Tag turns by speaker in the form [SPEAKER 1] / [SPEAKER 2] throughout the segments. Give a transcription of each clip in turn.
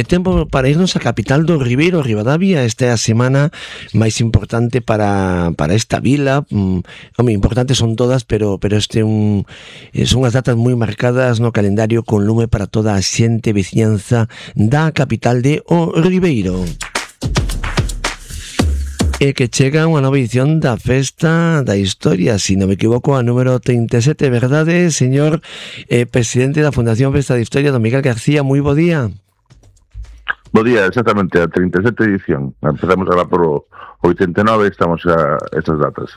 [SPEAKER 1] tempo para irnos a capital do Ribeiro, Ribadavia. Esta é a semana máis importante para esta vila. Importantes son todas, pero son as datas moi marcadas no calendario con lume para toda a xente veciñanza da capital de O Ribeiro. E que chega unha nova edición da Festa da Historia, se non me equivoco, a número 37, verdade, señor presidente da Fundación Festa da Historia, don Miguel García, moi bo día.
[SPEAKER 2] Bo día, exactamente, a 37 edición. Empezamos agora por o 89, estamos a estas datas.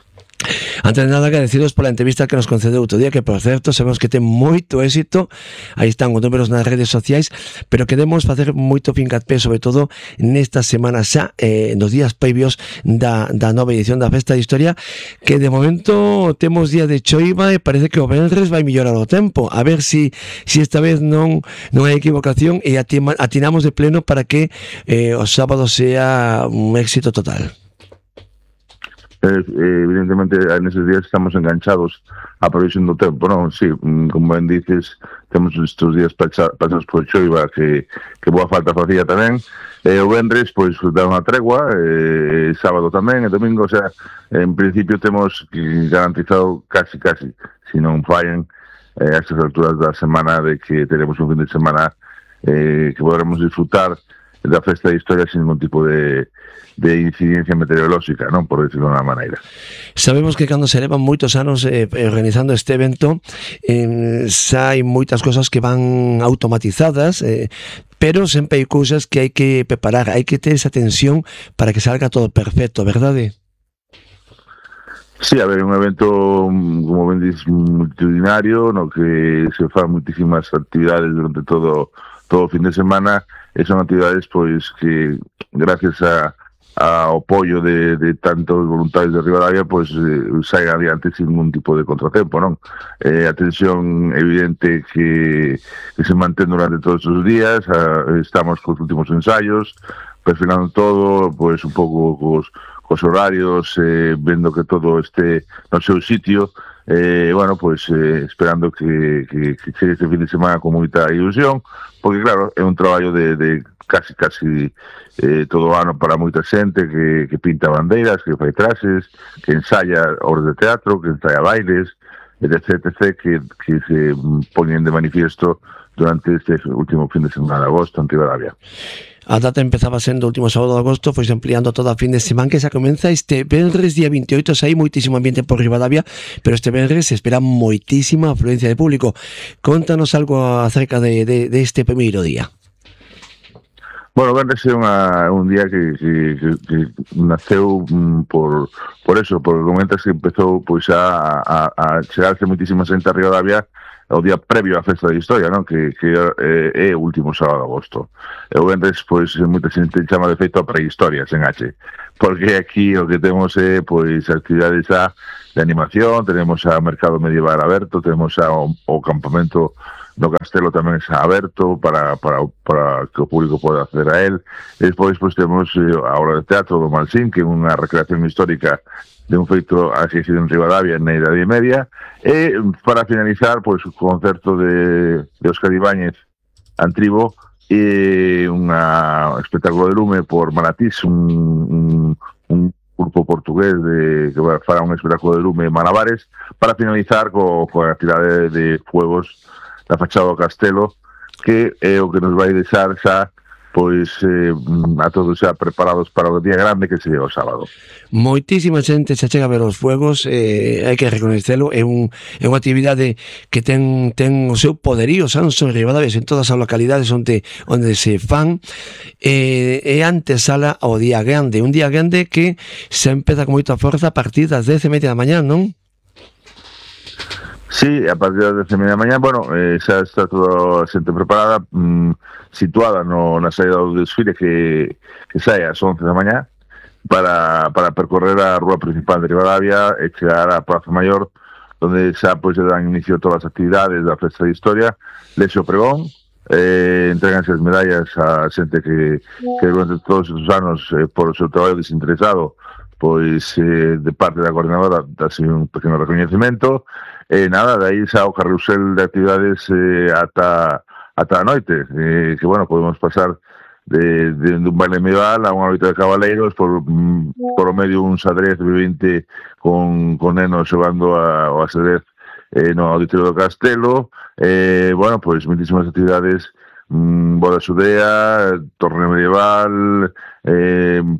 [SPEAKER 1] Antes de nada, agradecidos pola entrevista que nos concedeu outro día, que por certo sabemos que ten moito éxito. Aí están os números nas redes sociais, pero queremos facer moito fincapé, sobre todo nesta semana xa, nos días previos da nova edición da Festa de Historia, que de momento temos día de choiva e parece que o venres vai mellorar o tempo. A ver si esta vez non hai equivocación e atinamos de pleno para que o sábado sea un éxito total.
[SPEAKER 2] Evidentemente neses días estamos enganchados á previsión do tempo, non? Sí, como ben dices, temos estes días pasados por choiva que boa falta facía tamén. O venres, pois, dá unha tregua, sábado tamén, e domingo, o sea, en principio temos garantizado casi, se non fallen, a estas alturas da semana, de que teremos un fin de semana que podremos disfrutar da Festa de Historia sin ningún tipo de incidencia meteorolóxica, non, por decirlo de unha maneira.
[SPEAKER 1] Sabemos que cando se levan moitos anos organizando este evento, xa hai moitas cosas que van automatizadas, pero sempre hai cousas que hai que preparar, hai que ter esa tensión para que salga todo perfecto, verdade?
[SPEAKER 2] Sí, a ver, un evento, como ben dices, multitudinario, no que se fan muitísimas actividades durante todo o fin de semana, e son actividades pois que gracias ao apoio de tantos voluntarios de Ribadavia pois saen adiante sin ningún tipo de contratempo, non? A tensión evidente que se mantén durante todos os días, estamos cos últimos ensaios, perfilando todo, pois un pouco cos horarios, vendo que todo este no seu sitio, bueno, pois esperando que chegue este fin de semana con moita ilusión, porque claro, é un traballo de casi todo o ano para moita xente que pinta bandeiras, que fai traxes, que ensaya obras de teatro, que ensaya bailes, etc, que se poñen de manifiesto durante este último fin de semana de agosto en Ribadavia.
[SPEAKER 1] A data empezaba sendo o último sábado de agosto, foi ampliando todo a fin de semana, que xa comeza este venres día 28, xa hai moitísimo ambiente por Ribadavia, pero este venres se espera moitísima afluencia de público. Contanos algo acerca de este primeiro día.
[SPEAKER 2] Bueno, venres é un día que naceu por eso, porque comentas que empezou pois a chegarse moitísima xente a Ribadavia o día previo á Festa de Historia, non? Que é o último sábado de agosto. E o venres, pois, moita xente chama de feito a prehistoria, sen H. Porque aquí o que temos é, pois, actividades de animación, tenemos a mercado medieval aberto, tenemos o campamento no castelo tamén está aberto para que o público poda acceder a él. E despois, pois, temos a obra de teatro do Malsín, que é unha recreación histórica de un feito axixido en Ribadavia na Idade Media, e para finalizar, pois, o concerto de Óscar Ibáñez Antribo e un espectáculo de lume por Manatís, un grupo portugués que fará un espectáculo de lume Malabares, para finalizar coa actividade de fuegos da fachada do castelo, que é o que nos vai deixar xa pois a todos xa preparados para o día grande que sería o sábado.
[SPEAKER 1] Moitísima xente xa chega a ver os fuegos, hai que recoñecelo, é unha actividade que ten o seu poderío, xa non son Ribadavia, en todas as localidades onde se fan, e antesala ao día grande, un día grande que se empeza con moita forza a partir das 10:30 da mañá, non?
[SPEAKER 2] Sí, a partir das 10:30 da mañá, bueno, xa está toda a xente preparada, situada na saída do desfile que sae ás 11 da mañá para percorrer a rúa principal de Ribadavia e chegar á Praza Maior, onde xa pois se dan inicio a todas as actividades da Festa de Historia, lexe o pregón, entreganse as medallas a xente que durante todos os anos, por o seu traballo desinteresado, pois de parte da coordinadora dase un pequeno recoñecemento, e nada, de aí xa o carrusel de actividades ata a noite, que bueno, podemos pasar un baile medieval a unha loita de cabaleiros por o medio un xadrez vivinte con nenos xogando ao xadrez no auditorio do Castelo, bueno, pois muitísimas actividades, boda xudea, torneo medieval,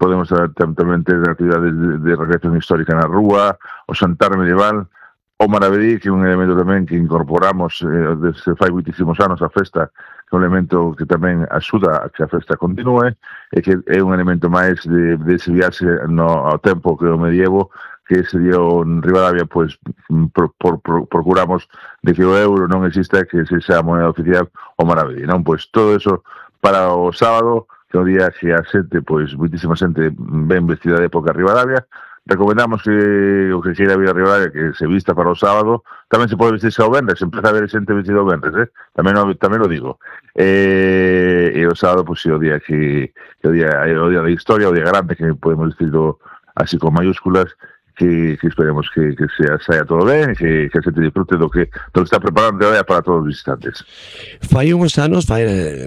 [SPEAKER 2] podemos tamén ter actividades de recreación histórica na rúa, o xantar medieval, o Maravedí, que é un elemento tamén que incorporamos desde fai muitísimos anos a festa, que é un elemento que tamén axuda a que a festa continue, e que é un elemento máis de ese viaxe ao tempo que o medievo, que se dio en Ribadavia, pois procuramos de que o euro non exista, que se xa a moneda oficial o Maravedí, non? Pois todo eso para o sábado, que é o día que a xente, pois muitísima xente ven vestida de época a Ribadavia. Recomendamos que o que queira vir a Ribadavia que se vista para o sábado. Tamén se pode vestirse ao venres, empeza a ver xente vestida ao venres, tamén o digo. E o sábado, pois, é o día que o día da historia, o día grande, que podemos decirlo así con mayúsculas, que esperemos que saia todo ben, que a xente disfrute do que está preparando de para todos os visitantes.
[SPEAKER 1] Fai uns anos,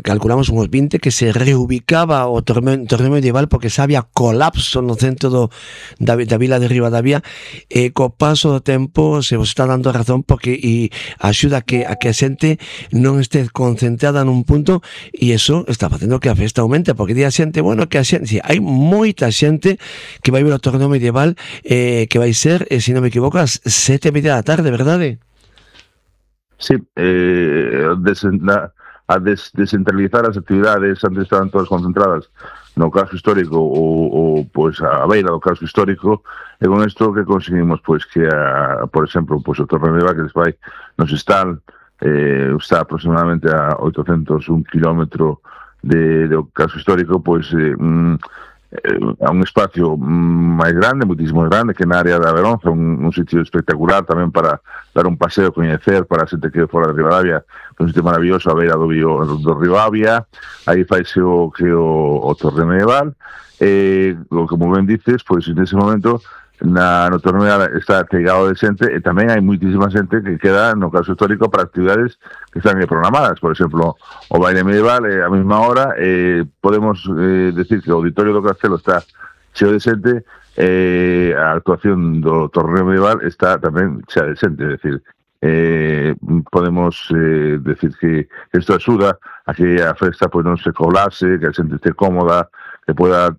[SPEAKER 1] calculamos uns 20, que se reubicaba o torneo medieval porque xa había colapso no centro da vila de Ribadavia, e co paso do tempo se vos está dando razón porque axuda a que a xente non este concentrada nun punto, e eso está facendo que a festa aumente, porque di a xente, bueno, que a xente, hai moita xente que vai ver o torneo medieval, que vai ser, se non me equivoco, as 7:30 da tarde, verdade?
[SPEAKER 2] Sí, a descentralizar as actividades, antes estaban todas concentradas no casco histórico ou pois a beira do casco histórico, e con isto que conseguimos, pois que por exemplo, pois o torneo medieval que vai nos está aproximadamente a 801 km do casco histórico, pois a un espacio máis grande, muitísimo grande, que na área da Veronza, un sitio espectacular tamén para dar un paseo, coñecer para a xente que é fora de Ribadavia, un sitio maravilloso a beira do Ribadavia. Aí faise o torneo medieval, como ben dices, pois nese momento no torneo está pegado de xente, e tamén hai muitísima xente que queda no caso histórico para actividades que están programadas. Por exemplo, o baile medieval a mesma hora, podemos decir que o auditorio do Castelo está cheo de xente, a actuación do torneo medieval está tamén chea de xente, é dicir, podemos decir que isto axuda a que a festa pois non se colase, que a xente esté cómoda, que poda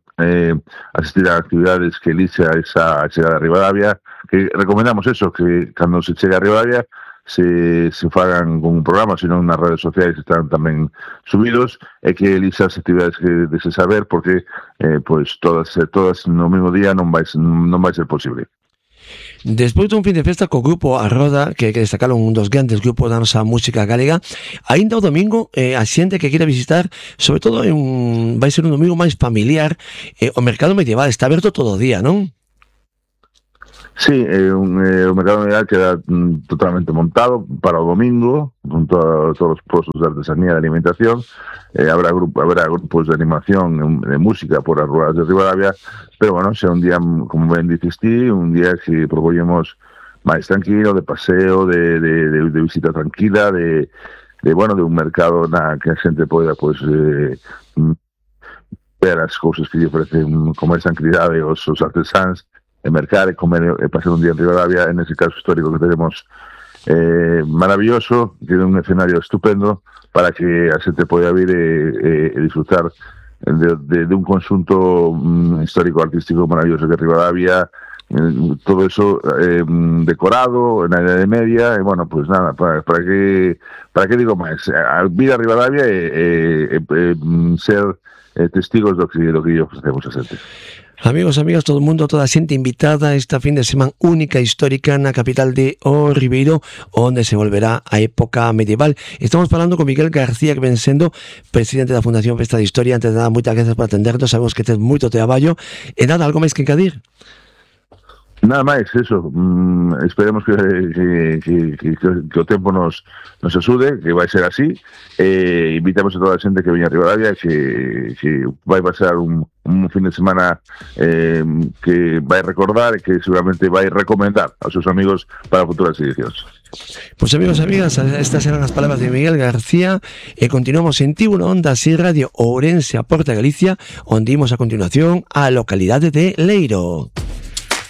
[SPEAKER 2] asistir a actividades que elixa esa chegada a Ribadavia, que recomendamos eso, que cando se chega a Ribadavia se fagan con un programa, senón nas redes sociais están tamén subidos, e que elixa as actividades que dese saber, porque pois todas no mesmo día non vai ser posible.
[SPEAKER 1] Despois dun fin de festa co grupo A Roda, que destacaron un dos grandes grupos da nosa música galega, aínda o domingo a xente que queira visitar, sobre todo vai ser un domingo máis familiar, o mercado medieval está aberto todo o día, non?
[SPEAKER 2] Sí, o mercado medieval queda totalmente montado para o domingo, junto a todos os postos de artesanía e de alimentación. Habrá grupos de animación, de música por as ruas de Ribadavia, pero bueno, sea un día, como ben dices ti, un día que propoñemos máis tranquilo, de paseo, de visita tranquila, de un mercado na que a xente poida pois ver as cousas que lle ofrecen con máis tranquilidade os artesáns, e mercar e comer e pasar un día en Ribadavia, en ese caso histórico que tenemos maravilloso, que é un escenario estupendo para que a xente poida vir e disfrutar de un conxunto histórico-artístico maravilloso que é Ribadavia, todo eso decorado na Idade Media, e bueno, pues nada, para que digo máis, a vir a Ribadavia e ser testigos do que lle ofrecemos a xente.
[SPEAKER 1] Amigos, amigas, todo o mundo, toda a xente invitada esta fin de semana única e histórica na capital de O Ribeiro, onde se volverá a época medieval. Estamos falando con Miguel García, que ven sendo presidente da Fundación Festa de Historia. Antes de nada, moitas gracias por atendernos, sabemos que tes moito traballo. E nada, algo máis que engadir?
[SPEAKER 2] Nada máis, eso. Esperemos que o tempo nos axude, que vai ser así. Invitamos a toda a xente que veña a Ribadavia, que vai pasar un fin de semana que vai recordar e que seguramente vai recomendar aos seus amigos para futuras edicións.
[SPEAKER 1] Pues amigos e amigas, estas eran as palabras de Miguel García e continuamos en Tiburon Onda Así Radio Ourense a Porta Galicia, onde imos a continuación á localidade de Leiro.